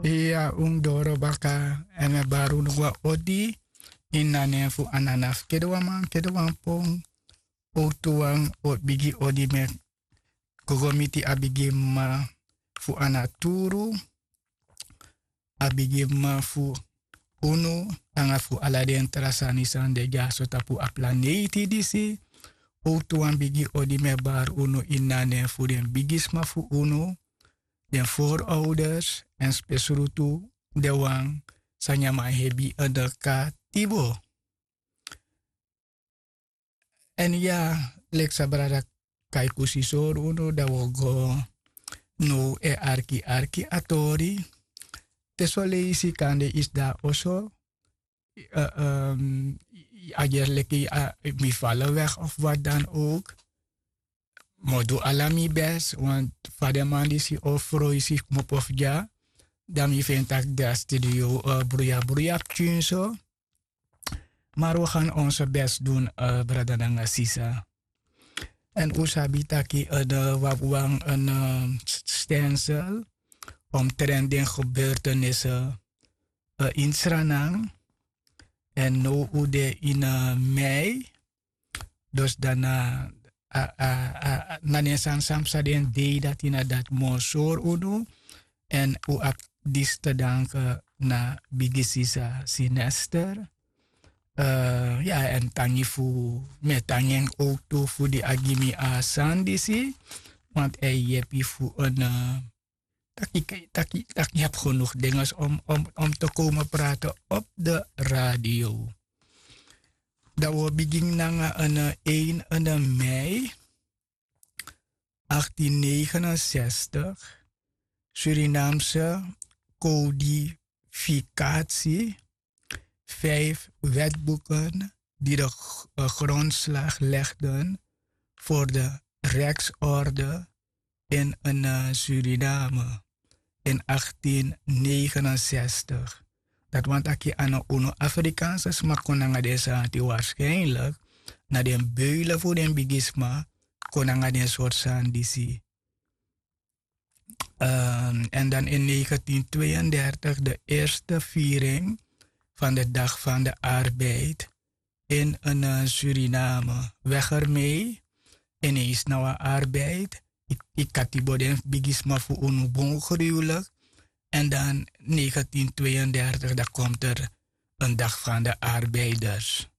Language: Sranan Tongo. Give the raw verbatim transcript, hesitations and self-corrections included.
Iya, un doro baka. Èn mi e bari unu wan odi ini a nen fu ananafu kedewan man, kedewan pon. Owtu wan o bigi odi mi e gogo miti a bigi mama fu a naturu, a bigi mama fu unu, nanga fu ala den tra sani san de dyaso tapu a planeiti disi. Owtu wan bigi odi mi e bari unu ini a nen fu den bigisma fu unu, den forouders, èn spesrutu den wan san nyan man hebi ede katibo. Èn ya, leki san brada Kaikusi sori unu, dan wi o go now e arki arki a tori. Te soleisi kande yu sidon na oso, a gerleki mi fala weg of wat dan ook. Mi o du ala mi bes, want fa den man disi o froisi kmopo fu dya, dan mi feni tak' den a studio bruya bruya pikin so. Maar wi gan onze bes doen, brada nanga sisa. Èn un sabi taki wi abi wan stensel omtrent den gebeurtenisi ini Sranan. Èn now un de ini mei. Dus dan na den sani san psa den dei dati na dati mi o sori unu. Èn un abi disi te danki na bigi sisa Sinester. Ya, èn tangi fu, mi e tangi en owtu fu di a gi mi a sani disi. Want a e yepi fu en taki taki taki yu abi genoeg dinges om om om te komen praten op de radio. Dan wi o bigin nanga en een en mei achttien negenenzestig, Surinaamse codificatie, vijf wetboeken die de grondslag legden voor de rechtsorde in Suriname in achttien negenenzestig. Dati wani taki a no unu Afrikaanse sma kon nanga den sani disi, waarschijnlijk na den beulen fu den bigisma kon nanga den sortu sani disi. En dan in negentien tweeëndertig de eerste viering van de Dag van de Arbeid in Suriname. Weg ermee, ineens na wan arbeid. Yu katibo den bigisma fu unu bun gruwelijk. En dan negentien tweeëndertig dan komt er een Dag van de Arbeiders.